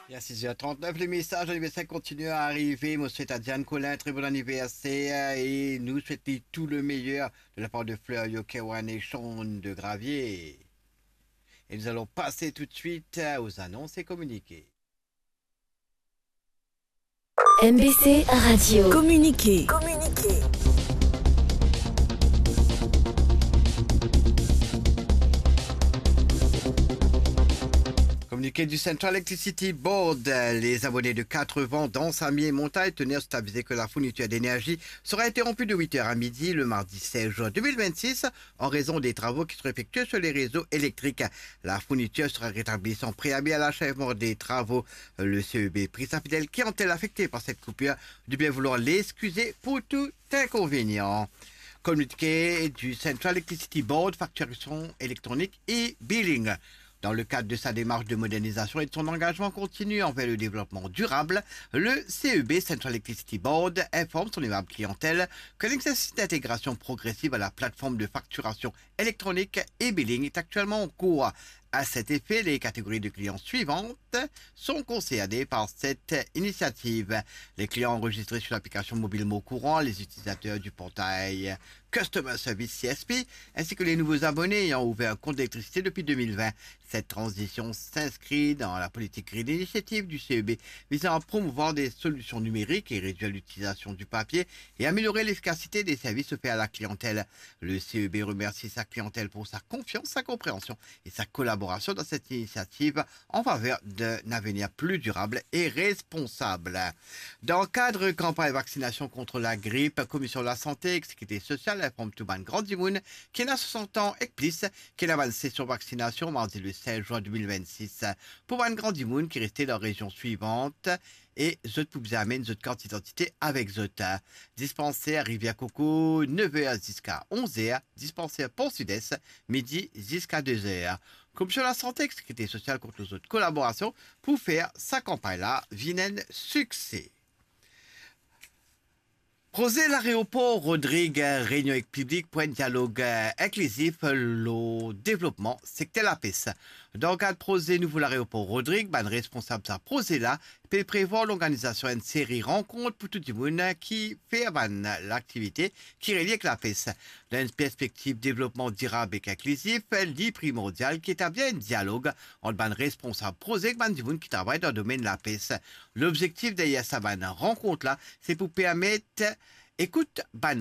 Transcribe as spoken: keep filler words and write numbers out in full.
Il est six heures trente-neuf, les messages d'anniversaire continuent à arriver. Mo swet a Diane Colin très bon anniversaire et nous souhaite tout le meilleur de la part de Fleurio, Kewan et Sean de Gravier. Et nous allons passer tout de suite aux annonces et communiqués. M B C Radio. Communiqué. Communiqué du Central Electricity Board, les abonnés de Quatre-Vents, Anse-Amiens et Montagne-Tonnerre sont avisés que la fourniture d'énergie sera interrompue de huit heures à midi le mardi seize juin deux mille vingt-six en raison des travaux qui seront effectués sur les réseaux électriques. La fourniture sera rétablie sans préavis à l'achèvement des travaux. Le C E B prie sa fidèle clientèle affectée par cette coupure de bien vouloir l'excuser pour tout inconvénient. Communiqué du Central Electricity Board, facturation électronique et billing. Dans le cadre de sa démarche de modernisation et de son engagement continu envers le développement durable, le C E B Central Electricity Board informe son aimable clientèle que l'exercice d'intégration progressive à la plateforme de facturation électronique et billing est actuellement en cours. À cet effet, les catégories de clients suivantes sont concernées par cette initiative. Les clients enregistrés sur l'application mobile Mon Courant, les utilisateurs du portail Customer Service C S P, ainsi que les nouveaux abonnés ayant ouvert un compte d'électricité depuis deux mille vingt. Cette transition s'inscrit dans la politique Green Initiative du C E B visant à promouvoir des solutions numériques et réduire l'utilisation du papier et améliorer l'efficacité des services offerts à la clientèle. Le C E B remercie sa clientèle pour sa confiance, sa compréhension et sa collaboration dans cette initiative en faveur d'un avenir plus durable et responsable. Dans le cadre campagne vaccination contre la grippe, Commission de la Santé et Sécurité Sociale informe tou bann gran dimoun ki ena swasant an ek plis ki ena bann sesion vaksinasion mardi le seize juin deux mille vingt-six. Pou bann gran dimoun ki reste dan rezion swivant, e zot pou bizin amenn zot kart idantite avek zot. Dispanser Rivière Coco, nev er ziska onz er, dispanser Pont Sud-Est, midi ziska de er. Komision Lasante ek Sekirite Sosial kont lor zot kolaborasion pou fer sa kanpagn la vinn enn sikse. Proze lareopor Rodrig, reynion ek piblik pou enn dialog, eh, inklizif lor devlopman sekter lapes. Dan kad proze nouvo lareopor Rodrig, bann responsab sa proze la pe prevwar lorganizasion enn seri rankont pou tou dimoun ki fer bann laktivite ki relie ek lapes. Dan enn perspektiv devlopman dirab ek inklizif, li primordial ki etablir enn dialog ant bann responsab proze ek bann dimoun ki travay dan domenn lapes. Lobzektif deryer sa bann rankont la, se pou permet ekout bann